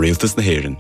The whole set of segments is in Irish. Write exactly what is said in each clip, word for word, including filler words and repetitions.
Rialtas na hÉireann.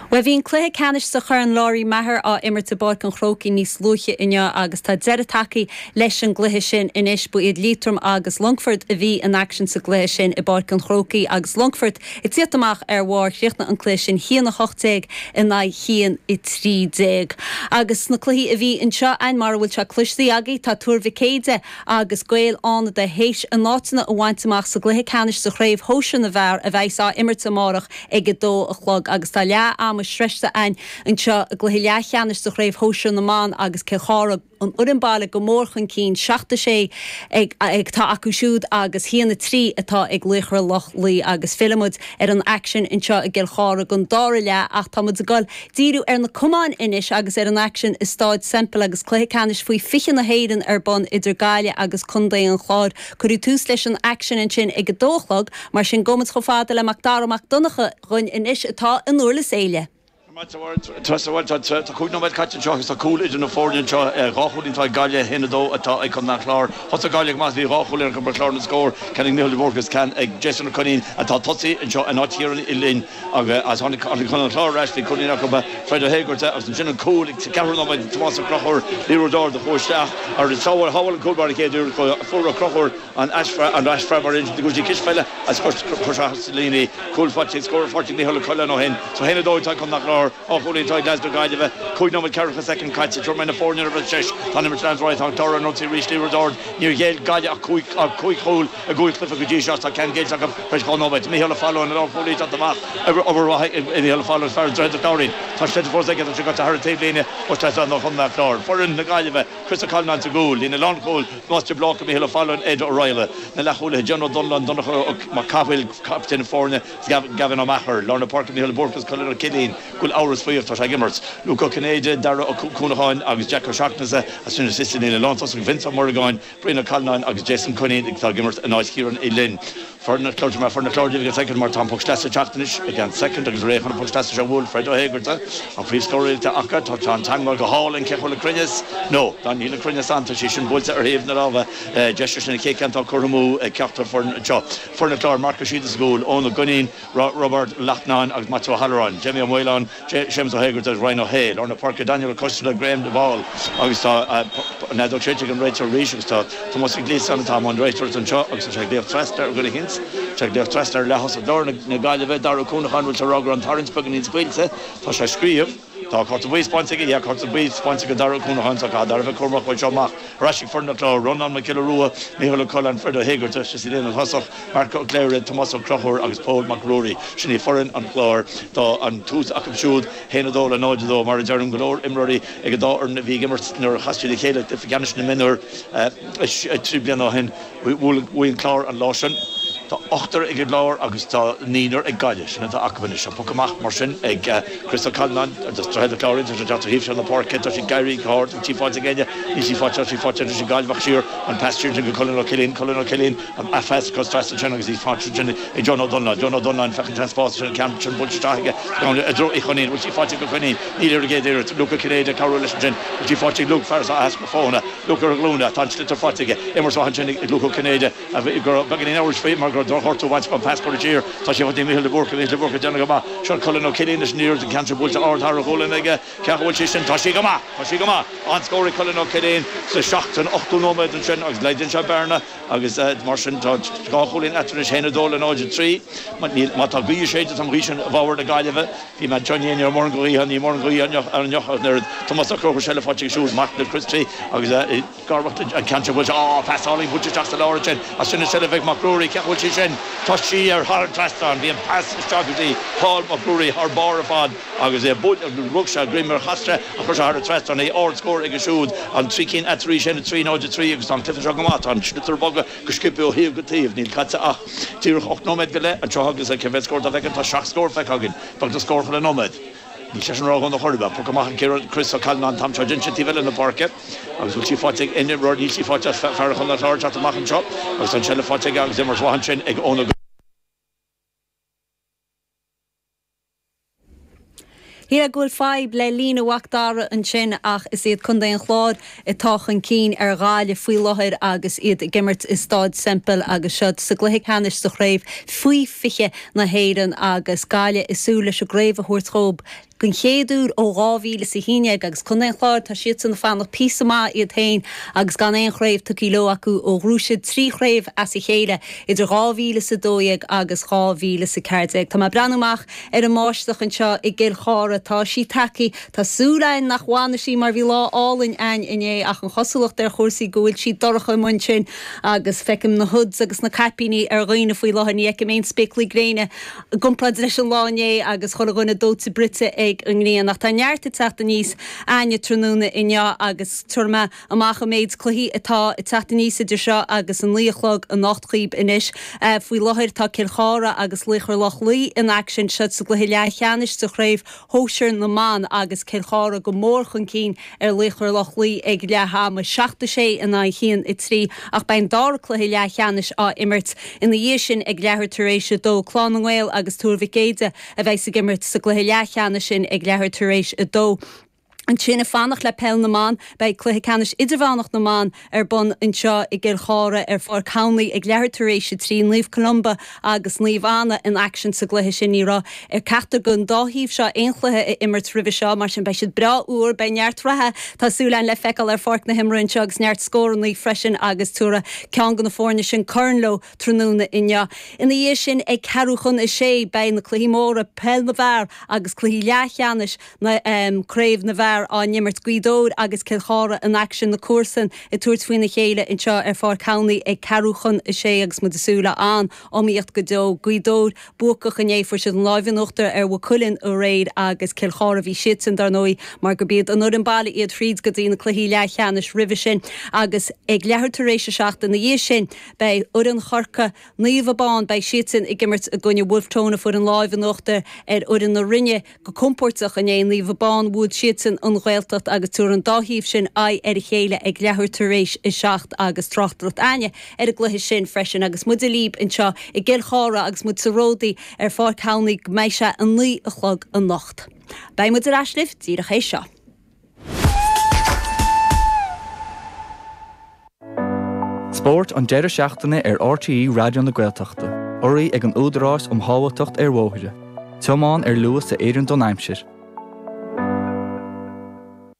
Bhuel bhí an cluiche ceannais sa Chorn Lory Meagher á imirt i bPáirc an Chrócaigh níos luaithe inniu agus tá deireadh tagtha leis an gcluiche sin anois. Ba iad Liatroim agus Longfort a bhí in aicsean sa gcluiche sin i bPáirc an Chrócaigh agus Longfort ag tíocht amach ar bharr. Chríochnaigh an cluiche sin haon a hocht déag in aghaidh haon a trí déag. Agus sna cluichí a bhí anseo againn mar a bhfuil sé cloiste agaibh tá Tuar Mhic Éadaigh agus Gaeil Fhánada théis a n-áiteanna a bhaint amach sa gcluiche ceannais sa chraobh shóisir na bhfear a bheas á imirt amárach ag a dó a chlog agus tá leath ama sroichte againn anseo i gcluiche leathcheannais sa chraobh shóisir na mban agus Cill Chartha an fhoireann baile go mór chun cinn, seacht a sé ag atá acu siúd agus haon a trí atá ag Laochra Loch Lao agus fillfidh muid ar an aicsean anseo i gCill Chartha don dara leath ach tá muid ag dul díriú ar na camáin anois agus ar an aicsean i Stáid Semple agus cluiche ceannais faoi fiche na hÉireann ar bun idir Gaillimh agus Contae an Chláir. Cuireadh tús leis an aicsean ansin ag a dó a chlog mar sin gabhfaidh muid chomh fada le Mac Dara Mac Donncha dhúinn anois atá in Durlas Éile. Tá cúig nóiméad caite anseo agus tá cúl idir na foirne anseo. Dhá chúilín atá ag Gaillimh, a haon a dó atá ag Contae an Chláir. Thosaigh Gaillimh go maith, bhí dhá chúilín acu ar chlár na scór, ceann ag Micheál de Búrca agus ceann ag Jason Ó Coinín atá tosaí anseo in áit Chiarán Uí Fhloinn agus tháinig Contae an Chláir ar ais, bhí cúilín acu Fred Ó hÉigearta agus ansin an cúl ag ceathrú nóiméad ag Tomás Ó Conchúir, liathróid ard a chuaigh isteach agus shábháil an cúl báire an chéad iarracht, fuair Ó Conchúir an aisfhreagra mar sin go dtí cispheile agus chuir sé sa líne í. Cúl faighte, scór faighte ag Micheál Ó Coileáin ó shin. So a haon a dó atá ag Contae an Chláir, dhá chúilín atá ag leaids na Gaillimhe. Cúig nóiméad ceathracha soicind caite. Tabharfaidh mé na foirne ar ais. Tá an imirt ag leanúint ar aghaidh. Tá an Clár ar an ionsaí arís. Liathróid ard. Níor ghéill Gaillimh ach cúig ach cúig chúl i gcúig chluiche go dtí seo. Tá ceann géillte acu tar éis dhá nóiméad. Micheál Ó Fallúin, an lánchúlaí ag teacht amach. Obair mhaith ag Micheál Ó Fallúin, fear Droichead an Chláirín. Tá sliotar fós aige. Tá sé gaibhte thar an taobhlíne. Post trasna do Chontae an Chláir. Foireann na Gaillimhe. Chris Ó Callanáin sa gcúl. Líne lánchúil. Tomás de Bláca, Micheál Ó Fallúin, Ed O'Reilly. Na leathchúlaithe, John Ó Donnellan, Donncha Mac Cathmhaoil, captaen na foirne, Gavin Ó Meachair. Lár na páirce, Micheál de Búrca agus Colin Ó Cillín. Go bhfuil amhras faoi ach tá sé ag imirt. Luke Ó Cinnéide, Dara Ó Cuanacháin agus Jack Ó Seachnasaigh as sin is sa líne lántosach, Vince Ó Muireagáin, Brian Ó Callanáin agus Jason Cunneen atá ag imirt in áit Chiarán Uí Fhloinn. Foireann an Chláir Mar foireann an Chláir díobh ag an soicind mar tá an poc sleasa ag teacht anois ag an soicind agus réidh chun an poc sleasa seo a bhualadh Fred Ó hÉigearta an príomhscóraí atá acu. Tá tá an teagmháil go hálainn cé chomh le cruinneas? No, tá níl an cruinneas ann tá sí sin buailte ar thaobh na láimhe deise sin an chéad ceann atá curtha amú ag ceachtar foireann anseo. Foireann an Chláir Marc Ó Síoda sa gcúl, Eoin Ó Duinnín, Roibeard Lachtnáin agus Maitiú Ó hAlluráin, Jamie Ó Maoláin, Séamus Ó hÉigearta agus Ryan Ó hAodha, lár na páirce Daniel Ó Coisteala, Graham de Bhál agus tá an fheadóg séidte ag an réiteoir arís agus tá Tomás Mac Gliasáin atá i mbun réiteoireachta anseo agus tá sé ag glaoch trasna ar dhuine eicínt, tá sé ag glaoch trasna ar leath-thosach lár na Gaillimhe, Dara Ó Cuanacháin, bhfuil sé ag rá go raibh an tarraingt beagáinín scaoilte, tá sé ag scríobh. Tá cárta buí spáinte aige, yeah, cárta buí spáinte ag Dara Ó Cuanacháin, tá caithfidh Dara bheith cúramach uaidh seo amach. Ar ais ag foireann an Chláir, Rónán Mac Giolla Rua, Micheál Ó Coileáin, Fred Ó hÉigearta, sa líne thosach, Marc Ó Cléirigh, Tomás Ó Conchúir agus Pól Mac Ruairí. Sin í foireann an Chláir. Tá an tús acu siúd, haon a dó le náid a dó. Mar a deirim, go leor imreoirí ag an dá fhoireann a bhí ag imirt nuair a chas siad a chéile i gcluiche ceannais na mionúr trí bliana ó shin. Bhuaigh an Clár an lá sin. Tá ochtar ag an gClár agus tá naonúr ag Gaillimh. Sin atá acu anois. An poc amach mar sin ag Chris Ó Callanáin agus Droichead an Chláir. Tá sé ag teacht ó thaobh seo na páirce. Tá sé ag éirí go hard. Bhfuil sí faighte ag éinne? Níl sí faighte. Tá sí faighte anois ag Gaillimh ach siar an pas siar go Colin Ó Cillín. Colin Ó Cillín an pas cos trasna ansin agus í faighte ansin ag John Ó Donláin. John Ó Donláin féachaint ar an spás ansin an ceann sin buailte isteach aige i dtreo Uí Choinín. Bhfuil sí faighte ag Ó Coinín? Níl ar an gcéad iarracht. Luke Ó Cinnéide ag cabhrú leis ansin. Bhfuil sí faighte ag Luke? Fear atá easpa foghana. Luke ar a ghlúine. Tá an sliotar faighte aige. Imirt mhaith ansin ag Luke Ó Cinnéide. Go raibh beagáinín amhrais faoi mar go raibh drochghortú bainte an pas curtha siar. Tá sé faighte ag Micheál de Búrca. Micheál de Búrca ag déanamh go maith. Seo Colin Ó Cillín leis an iarracht an ceann seo buailte ard thar a ghualainn aige. Cé acu bhfuil sí sin? Tá sí go maith! Tá sí go maith! An-scór ag Colin Ó Cillín sa seacht san ochtú nóiméad ansin agus laghdaíonn sé bearna agus mar sin tá dhá chúilín eatarthu anois, a haon a dó le náid a trí. Má tá gaoth ag séideadh tá an ghaoth sin i bhfabhar na Gaillimhe. Bhí mé anseo inné, ní raibh mórán gaoithe, níl mórán gaoithe inniu ach an oiread. Tomás Ó Conchúir seilbh faighte aige siúd, Mark na Christy agus Garmhacht an ceann seo buailte, á, pas álainn buailte isteach sa lár ansin as sin an tseilbh ag Mac Ruairí, cé acu bhfuil sí sin? Tá sí ar thar an trasnán, bhí an pas isteach go dtí Paul Mac Ruairí thar barr ar fad agus é buailte, rug sé a dhroim ar chas sé ach chuir sé thar an trasnán é, ard-scór aige siúd, an trí cinn eatarthu arís, a haon a trí, náid a trí agus tá an cluiche seo go maith, tá an sliotar ag bogadh go sciobtha ó thaobh go taobh, níl caite ach díreach ocht nóiméad go leith anseo agus cé mhéad scór atá feicthe? Tá seacht scór feicthe againn, beagnach scór chuile nóiméad. Níl sé sin ródhona chor ar bith. Poc amach ag Chris Ó Callanáin an t-am seo. Déanann sé taobh eile na páirce agus bhfuil sí faighte ag Enya Roar. Níl sí faighte ach fear Chontae an Chláir ag teacht amach anseo agus tá an tseilbh faighte aige agus imirt mhaith ansin ag Eoin Ó. Shílfeá go bhfuil fadhb le líne Mhac Dara ansin ach is iad Contae an Chláir atá chun cinn ar Ghaillimh faoi láthair agus iad ag imirt i Staid Semple agus seo sa gcluiche ceannais sa chraobh faoi fiche na hÉireann agus Gaillimh ag súil leis an gcraobh a thabhairt dhóibh den chéad uair ó dhá mhíle is a haon déag agus Contae an Chláir tá siadsan ag fanacht píosa maith iad féin agus gan aon chraobh tugtha leo acu ó ghnóthaigh siad trí chraobh as a chéile idir dhá mhíle is a dó dhéag agus dhá mhíle is a ceathair déag. Tá mé ag breathnú amach ar an mbáisteach anseo i gCill Chartha. Tá sí tagtha. Tá súil againn nach bhfanfaidh sí mar bhí lá álainn againn inné ach an chosúlacht ar chúrsaí go bhfuil sí dorcha amuigh ansin agus feicim na hoods agus na caipíní ar dhaoine faoi láthair. Ní fheicim aon spéaclaí gréine i gcomparáid leis an lá inné agus chuile dhuine dóite bruite ag an ngrian. Ach tá neart ag teacht aníos againne tráthnóna inniu agus tabharfaidh mé amach an méid cluichí atá ag teacht aníos idir seo agus a naoi a chlog anocht dhaoibh anois. Faoi láthair tá Cill Chartha agus Laochra Loch Lao in aicsean seo sa gcluiche leathcheannais de chraobh shóisir na mban agus Cill Chartha go mór chun cinn ar Laochra Loch Lao ag leath ama, seacht a sé in aghaidh a haon a trí, ach beidh an dara cluiche leathcheannais á imirt ina dhiaidh sin ag leathuair tar éis a dó. Clann na nGael agus Tuar Mhic Éide a bheas ag imirt sa gcluiche leathcheannais sin ag leathuair tar éis a dó. Ansin ag fanacht le peil na mban, beidh cluiche ceannais idirmheánach na mban ar bun anseo i gCill Chartha ar Pháirc Hanley ag leathuair tar éis a trí. Naomh Columba agus Naomh Anna in aicsean sa gcluiche sin. Ní raibh ar ceachtar den dá thaobh seo aon chluiche a imirt roimhe seo, mar sin beidh siad breá úr. Beidh neart reatha, tá súil againn, le feiceáil ar pháirc na himeartha anseo agus neart scóranna freisin agus tabharfaidh ceann de na foirne sin corn leo tráthnóna inniu. Ina dhiaidh sin ag ceathrú chun a sé beidh na cluichí móra, peil na bhfear agus cluichí leathcheannais na Craobh na bhFear á n-imirt, Gaoth Dobhair agus Cill Chartha in aicsean, na comharsain ag tabhairt faoina chéile anseo ar Pháirc Hanley ag ceathrú chun a sé agus muid ag súil le an-iomaíocht go deo. Gaoth Dobhair buacach inné, fuair siad an láimh in uachtar ar Mhaigh Cuilinn aréir agus Cill Chartha, bhí siadsan dar ndóigh mar gurb iad an fhoireann baile iad thríd go dtí na cluichí leathcheannais roimhe sin agus ag leathuair tar éis a seacht ina dhiaidh sin beidh foireann Chorcaí, Naomh Abán, beidh siadsan ag imirt i gcoinne Wolfe Tone a fuair an láimh in uachtar ar fhoireann na Rinne go compóirteach inné. Naomh Abán, bhuail siadsan an Ghaeltacht agus tabharfaidh an dá thaobh sin aghaidh ar a chéile ag leathuair tar éis a seacht agus tráchtaireacht againne ar an gcluiche sin freisin agus muide libh anseo i gCill Chartha agus muid sa Ródaí ar Pháirc Hanley go mbeidh sé a naoi a chlog anocht. Beidh muid ar ais libh díreach théis seo. Spórt an deireadh seachtaine ar RTÉ Raidió na Gaeltachta, urraithe ag an Údarás um Shábháilteacht ar Bhóithre. Tiomáin ar luas a oireann don aimsir.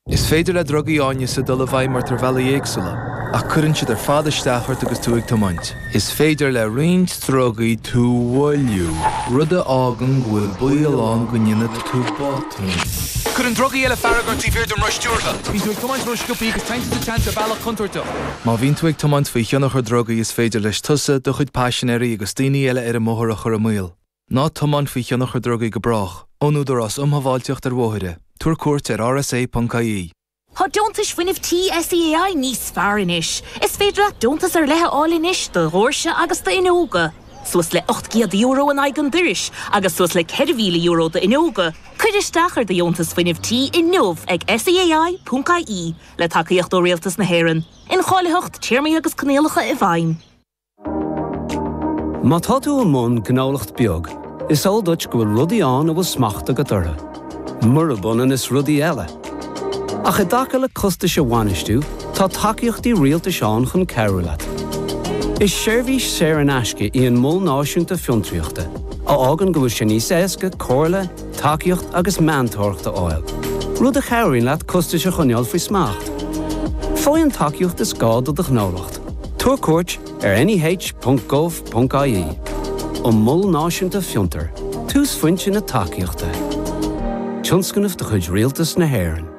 Is féidir le drugaí áineasa dul i bhfeidhm ort ar bhealaí éagsúla, ach cuireann siad ar fad isteach ort agus tú ag tiomáint. Is féidir le roinnt drugaí tú a mhoilliú, rud a fhágann go bhfuil baol ann go ndéanfaidh tú botún. Cuireann drugaí eile fearg ort taobh thiar den roth stiúrtha. Bíonn tú ag tiomáint ró-sciobtha agus téann tú sa tseans ar bhealach contúirteach. Má bhíonn tú ag tiomáint faoi thionchar drugaí is féidir leis tusa, do chuid paisinéirí agus daoine eile ar an mbóthar a chur i mbaol. Ná tiomáin faoi thionchar drugaí go brách. Ón Údarás um Shábháilteacht ar Bhóithre, tabhair cuairt ar rsa.ie. Tá deontais fuinnimh tí SEAI níos fearr anois. Is féidir leat deontas ar leith a fháil anois do dhoirse agus d'fhuinneoga. Suas le ocht gcéad euro in aghaidh an dorais agus suas le ceithre mhíle euro d'fhuinneoga. Cuir isteach ar do dheontas fuinnimh tí inniu ag SEAI.ie le tacaíocht ó Rialtas na hÉireann. Incháilitheacht, téarmaí agus coinníollacha i bhfeidhm. Má tá tú i mbun gnólacht beag, is eol duit go bhfuil rudaí ann a bhfuil smacht agat orthu. Murab ionann is rudaí eile. Ach i dtaca le costais a bhainistiú, tá tacaíochtaí rialtais ann chun cabhrú leat. Is seirbhís saor in aisce í an Mol Náisiúnta Fiontraíochta, a fhágann go bhfuil sé níos éasca comhairle, tacaíocht agus meantóireacht a fháil, rud a chabhraíonn leat costais a choinneáil faoi smacht. Faigh an tacaíocht is gá do do ghnólacht. Tabhair cuairt ar neh.gov.ie. An Mol Náisiúnta Fiontar, túsphointe na tacaíochta. Tionscnamh de chuid Rialtas na hÉireann.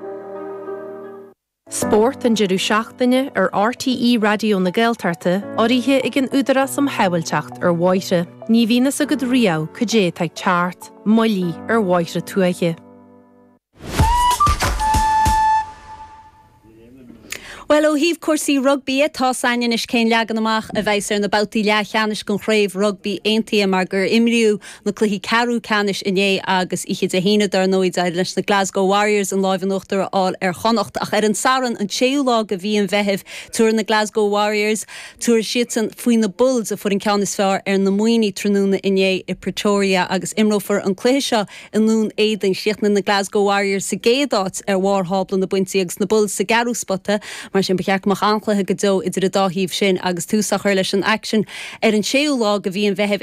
Spórt an deireadh seachtaine ar RTÉ Raidió na Gaeltachta, urraithe ag an Údarás um Shábháilteacht ar Bhóithre. Ní bhíonn a fhios agat riamh cad é atá ag teacht, moillí ar bhóithre tuaithe. Well ó thaobh cúrsaí rugbaí tá anois cén leagan amach a bheas ar na babhtaí leathcheannais den chraobh rugbaí aontaithe mar gur imríodh na cluichí ceathrú ceannais inné agus oíche Dé hAoine dar ndóigh d'éirigh leis na Glasgow Warriors an lámh in uachtar a fháil ar Chonnacht ach ar an Satharn an séú lá de mhí an Mheithimh tabharfaidh na Glasgow Warriors tabharfaidh siadsan faoi na Bulls a fuair an ceann is fearr ar na Muimhnigh tráthnóna inné i Pretoria agus imreofar an cluiche seo i nDún Éideann chríochnaigh na Glasgow Warriors sa gcéad áit ar bharr thábla na bpointí agus na Bulls sa gceathrú spota mar sin ba cheart go mbeadh an-chluiche go deo idir an dá thaobh sin agus tús á chur leis an aicsean ar an séú lá de mhí an Mheithimh ag